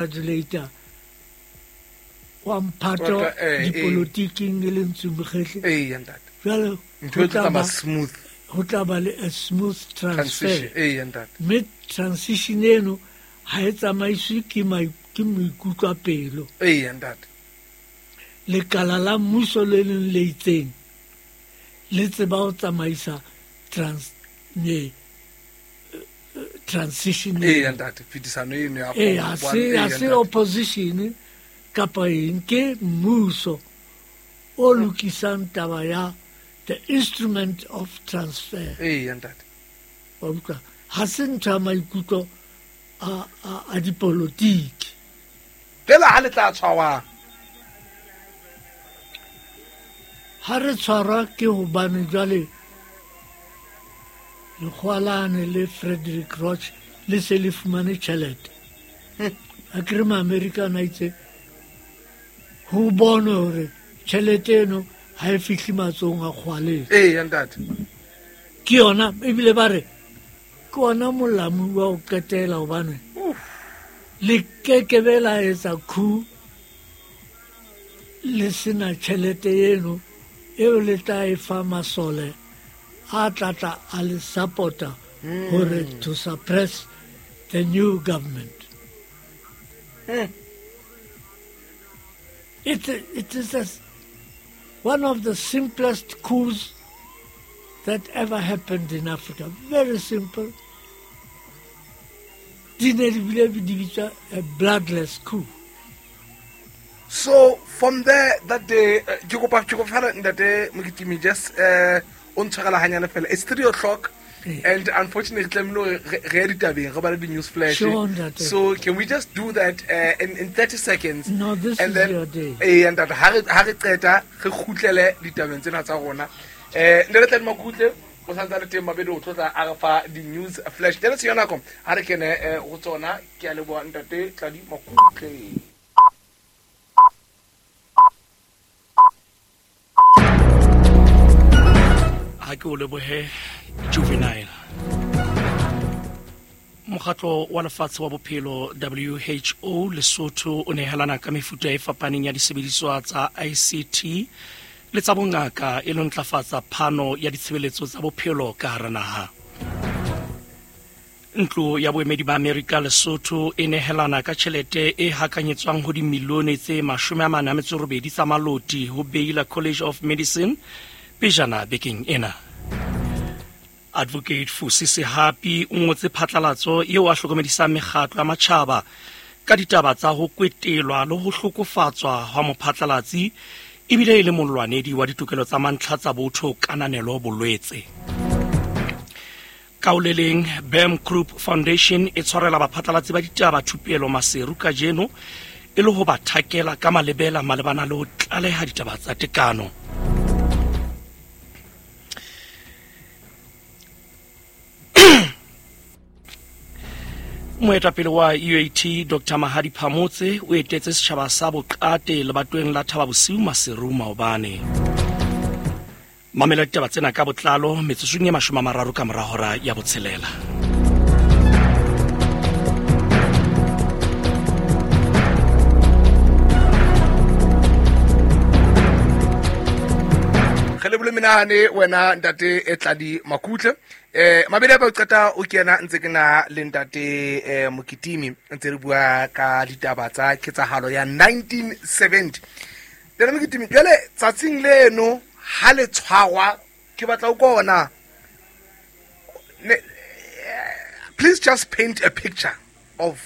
Congratulator wa mphato dipolotiking e le Ntsu Mokhehle. Ee, ntate. Jwale ntho e tla tsamaya smooth. Ho tla ba le a smooth transfer. Ee, ntate. Mme transition eno ha e tsamaiswe ke ke moikutlo a pelo. Ee, ntate. Lekala la mmuso le leng le itseng le tseba ho tsamaisa trans ne transition. Ee, ntate, phetisano eno ya ee, ha se ha se opposition kapa eng, ke mmuso o lokisang taba ya the instrument of transfer. Ee, ntate. Wa utlwa, ha se ntho ya maikutlo a dipolotiki. Fela ha le tla tshwarwang? Ha re tshwarwa ke hobane jwale lekgowa lane le Frederick Roch le se le fumane tjhelete. A kere Maamerika a itse ho bonwe hore tjhelete eno ha e fihle matsohong a kgwaleng. Ee, ntate. Ke yona ebile ba re ke ona molamu wa ho qetela hobane le kekebe la etsa coup le sena tjhelete eno eo le tla e fa masole a tlatla a le support-a hore to suppress the new government. It is one of the simplest coups that ever happened in Africa. Very simple. Di ne di bile di bitswa a bloodless coup. So from there that day, ke kopa fela ntate Mokitimi, just o ntshwarela hanyane fela. It's 3 o'clock. And unfortunately, re tlamehile re ye ditabeng, re bale di-news flash. Sure, ntate. So can we just do that in 30 seconds? No, this And is then, your day. Ee, ntate, ha re qeta, re kgutlele ditabeng tsena tsa rona. Ntate Tladi Makutle, o santse a le teng mabedi, o tlotla a re fa di-news flash. Jwale tshenyo nako, ha re kene ho tsona. Ke a leboha ntate Tladi Makutle. Ha ke o lebohe Juvenile. Mokgatlo wa lefatshe wa bophelo WHO Lesotho o nehelana ka mefuta e fapaneng ya disebediswa tsa ICT le tsa bongaka e lo ntlafatsa phano ya ditshebeletso tsa bophelo ka hara naha. Ntlo ya boemedi ba Amerika Lesotho e nehelana ka tjhelete e hakanyetswang ho dimilione tse 48 tsa maloti ho Baylor College of Medicine pejana bekeng ena. Advocate Fusi Sehapi o ngotse phatlalatso eo a hlokomedisang mekgatlo ya matjhaba ka ditaba tsa ho kwetelwa le ho hlokofatswa hwa mophatlalatsi ebile e le molwanedi wa ditokelo tsa mantlha tsa botho kananelo bolwetse. Ka ho le leng, Bam Group Foundation e tshwarela baphatlalatsi ba ditaba thupelo Maseru kajeno e le ho ba thakela ka malebela malebana le ho tlaleha ditaba tsa tekano. Moetapele wa UAT Dr Mahadi Phamotse o etetse setjhaba sa Boqate lebatoweng la Thaba Bosiu Maseru maobane. Mamela ditaba tsena ka botlalo metsotsong e 30 ka mora hora ya botshelela. Re lebole menahane wena ntate e Tladi Makutle. Mabedi a ba o qeta o kena ntse ke na le ntate Mokitimi ntse re bua ka ditaba tsa ketsahalo ya 1970. Ntate Mokitimi, jwale tsatsing leno ha le tshwarwa ke batla o kona. Please just paint a picture of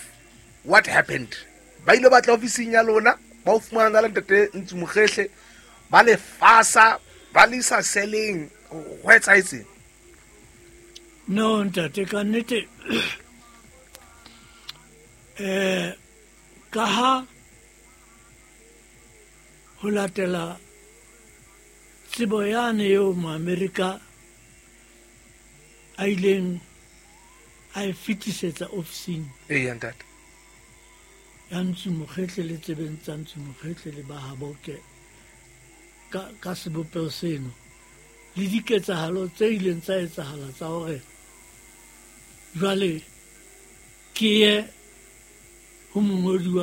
what happened. Ba ile batla ofising ya lona, ba o fumana le ntate Ntsu Mokhehle, ba le fasa, ba le isa seleng, ho etsahetseng? No, ntate, ka nnete, ka ha ho latela tsebo yane eo Maamerika a ileng a e fetisetsa ofising. Ee, ntate. Ya Ntsu Mokhehle le tsebeng tsa Ntsu Mokhehle le ba Haboke ka sebopeho seno le diketsahalo tse ileng tsa etsahala tsa hore jwale ke ye Ho mongodi wa